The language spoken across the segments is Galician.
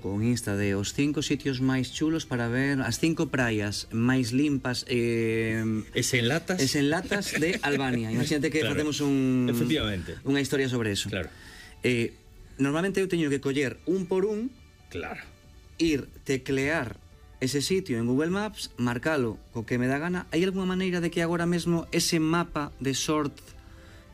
con Insta de os 5 sitios máis chulos para ver, as 5 praias máis limpas e sen latas de Albania. Imagínate que facemos efectivamente unha historia sobre eso. Claro. Normalmente eu teño que coller un por un, claro, ir teclear ese sitio en Google Maps, marcalo co que me dá gana. Hai algunha maneira de que agora mesmo ese mapa de Sort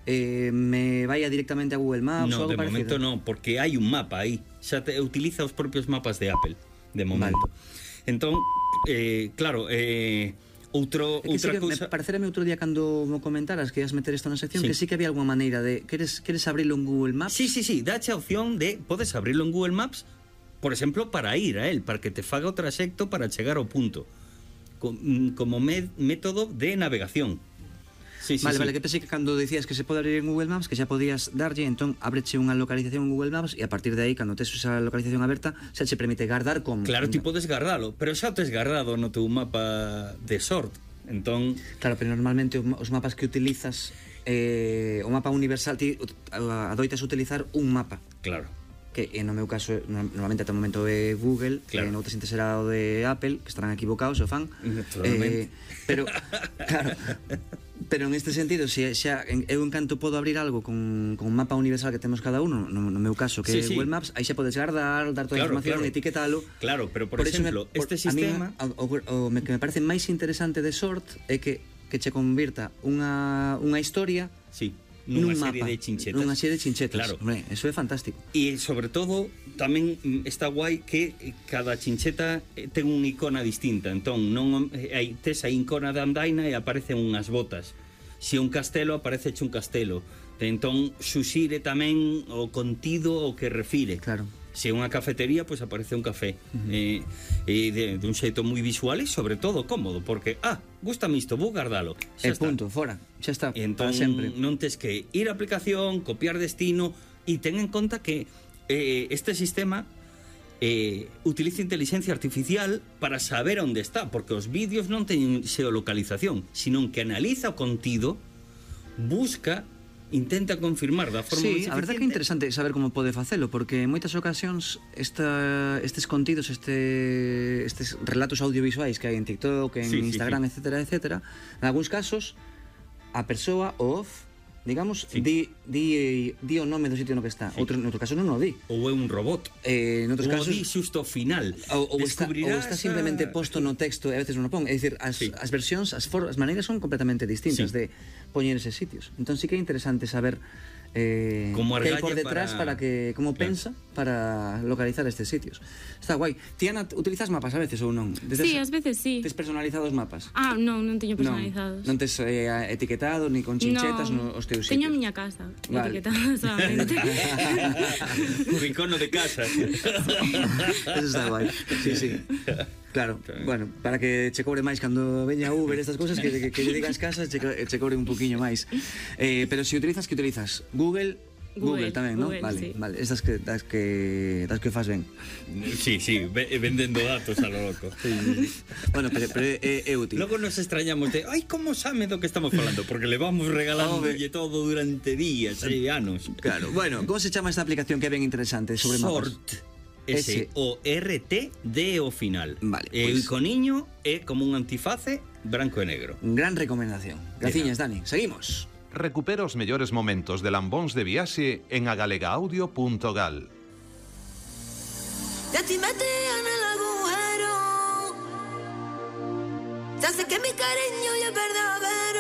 me vaya directamente a Google Maps? No, ou algo de parecido? momento non, porque hai un mapa aí. Xa utiliza os propios mapas de Apple, de momento. Vale. Entón, claro, outra cousa... Parecerame outro día cando me comentaras que ias meter isto na sección, que sí que había algunha maneira de... Queres abrilo en Google Maps? Sí, dache a opción de... Podes abrilo en Google Maps, por exemplo, para ir a él, para que te faga o traxecto para chegar ao punto, como método de navegación. Vale, que pensei que cando dicías que se pode abrir en Google Maps, que xa podías darlle, entón abreche unha localización en Google Maps e a partir de aí, cando tes esa localización aberta, xa che permite guardar como... Claro, ti podes guardalo, pero xa o tes guardado no teu mapa de Sort, entón... Claro, pero normalmente os mapas que utilizas, o mapa universal, ti adoitas utilizar un mapa. Claro. Que no meu caso normalmente ate o momento é Google, claro. Noutras xente será o de Apple, que estarán equivocados, o fan. Pero claro, pero en este sentido, se xa eu en canto podo abrir algo con un mapa universal que temos cada uno, no meu caso que é Google Maps, aí xa podes guardar, dar toda a información, etiquetalo. Claro, pero por exemplo, este sistema o que me parece máis interesante de Sort é que che convirta unha historia nunha serie de chinchetas. Claro. Hombre, eso é fantástico. E sobre todo tamén está guai que cada chincheta ten unha icona distinta. Entón, non tes a icona de andaina e aparecen unhas botas. Se un castelo, aparece un castelo. Entón, suxire tamén o contido o que refire. Claro. Se é unha cafetería, pois aparece un café. De un xeito moi visual e sobre todo cómodo, porque gústame isto, vou guardalo. E punto, fora, xa está, entón, para sempre. Non tes que ir a aplicación, copiar destino, e ten en conta que este sistema utiliza inteligencia artificial para saber onde está, porque os vídeos non teñen geolocalización, sino que analiza o contido, busca, intenta confirmar da forma máis eficiente. Sí, a verdade que é interesante saber como pode facelo, porque en moitas ocasións estes contidos, estes relatos audiovisuais que hai en TikTok, en Instagram, etcétera, en algúns casos a persoa, o off, digamos, di o nome do sitio no que está. Noutro caso non o di. Ou é un robot. Noutros casos o di xusto ao final. Ou está simplemente posto no texto e a veces non o pon. É dicir, as versións, as maneiras son completamente distintas de poñer eses sitios. Entón sí que é interesante saber que hai por detrás para que como pensa para localizar estes sitios. Está guai. Tiana, utilizas mapas a veces ou non? Sí, ás veces sí. Tes personalizados mapas? Non teño personalizados. Non tes etiquetados ni con chinchetas nos teus sitios? Teño a miña casa etiquetada solamente. Un rincón de casa. Eso está guai. Sí. Claro, bueno, para que che cobre máis cando veña Uber, estas cousas, que lle digas casas, che cobre un poquinho máis. Pero se utilizas, que utilizas? Google tamén, non? Vale, estas das que faz ben. Sí, vendendo datos a lo loco. Bueno, pero é útil. Logo nos extrañamos de, como sabe do que estamos falando, porque le vamos regalándolle todo durante días e anos. Claro, bueno, como se chama esta aplicación que é ben interesante sobre mapas? Sort. S-O-R-T-D o final. Vale, o iconiño é como un antiface branco e negro. Gran recomendación. Graciñas, Dani. Seguimos. Recupera os mellores momentos de lambóns de viaxe en agalegaudio.gal. Ya te metí en el agujero, ya sé que mi cariño ya perdió a ver.